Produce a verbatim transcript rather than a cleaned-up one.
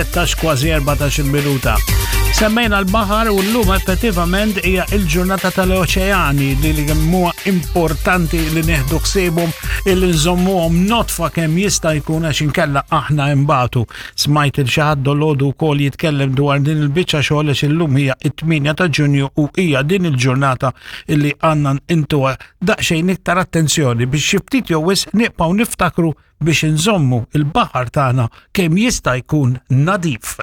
Tlettax kważi erbatax-il minuta. Semmejna l-baħar u llum effettivament hija il-ġurnata tal-oċeani, li li huwa importanti li nieħdu ħsiebhom, illi nżommuhom nodfa kemm jista' jkun, għax inkella aħna imbatu. Smajt lil xi ħadd dalgħodu wkoll jitkellem dwar din il-biċċa xogħol, għax illum hija it-tmienja ta' Ġunju u hija din il-ġurnata illi għandna ntuha daqsxejn iktar attenzjoni biex xi ftit jew wisq nibqgħu niftakru biex nżommu il-baħar tagħna kemm jista' jkun nadif.